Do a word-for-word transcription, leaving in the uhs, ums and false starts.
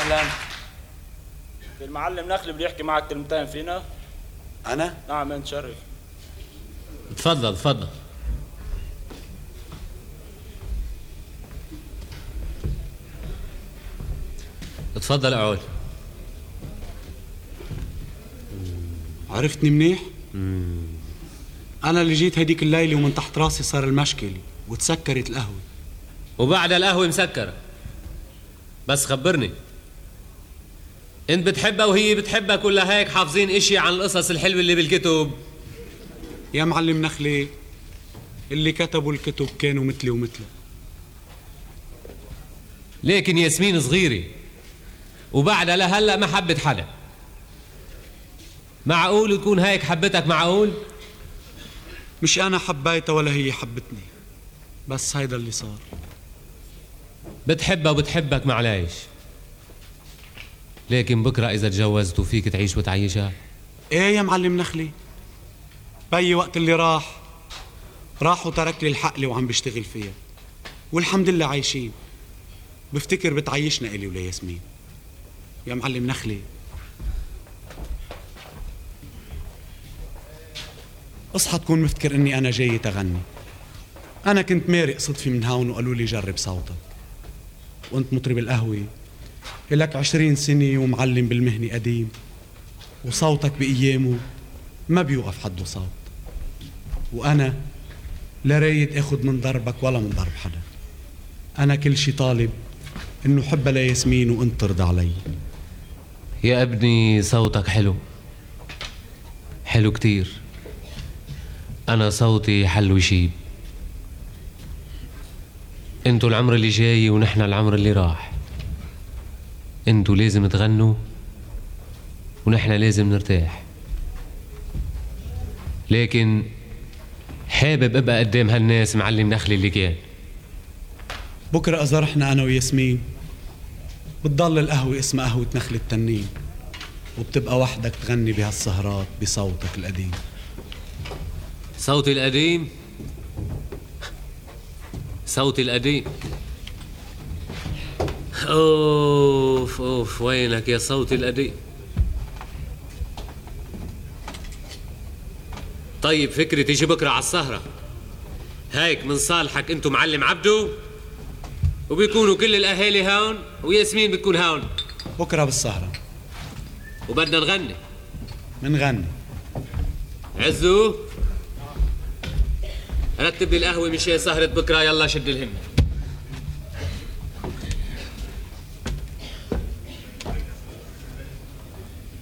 أهلا. المعلم نخلي بده يحكي معك كلمتين فينا. أنا؟ نعم انت شرف. تفضل تفضل. تفضل اقعد. عرفتني منيح؟ مم. أنا اللي جيت هديك الليلة ومن تحت راسي صار المشكل وتسكرت القهوة. وبعد القهوة مسكرة. بس خبرني، انت بتحبها وهي بتحبك ولا هيك حافظين اشي عن القصص الحلوة اللي بالكتب؟ يا معلم نخلي، اللي كتبوا الكتب كانوا مثلي ومثلك. لكن ياسمين صغيرة وبعدها لهلا ما حبت حدا. معقول تكون هيك حبتك؟ معقول؟ مش أنا حبيتها ولا هي حبتني، بس هيدا اللي صار. بتحبها وبتحبك معليش، لكن بكرة إذا تجوزت وفيك تعيش وتعيشها. إيه يا معلم نخلي، بيي وقت اللي راح راح وترك لي الحقلة وعم بشتغل فيها، والحمد لله عايشين. بفتكر بتعيشنا إلي ولا ياسمين. يا معلم نخلي، اصحى تكون مفتكر اني انا جاي تغني. انا كنت مارق صدفي من هون وقالوا لي جرب صوتك، وانت مطرب القهوة لك عشرين سنة ومعلم بالمهنة قديم، وصوتك بأيامه ما بيوقف حده صوت. وانا لا رايد اخد من ضربك ولا من ضرب حدا. انا كل شي طالب انه حبها لياسمين وانت ترضى علي. يا ابني صوتك حلو حلو كتير. أنا صوتي حل وشيب. انتوا العمر اللي جاي ونحن العمر اللي راح. انتوا لازم تغنوا ونحن لازم نرتاح. لكن حابب ابقى قدام هالناس معلم نخلي اللي كان. بكرة إذا رحنا أنا وياسمين بتضل القهوة اسمها قهوة نخل التنين، وبتبقى وحدك تغني بهالسهرات بصوتك القديم. صوتي القديم؟ صوتي القديم. اوف اوف وينك يا صوتي القديم. طيب فكري تيجي بكره على السهرة هيك من صالحك انتو معلم عبدو، وبيكونوا كل الاهالي هون وياسمين بتكون هون. بكرة بالسهرة وبدنا نغني. منغني. عزو رتب لي القهوة مشي سهرة بكرة. يلا شد الهمة.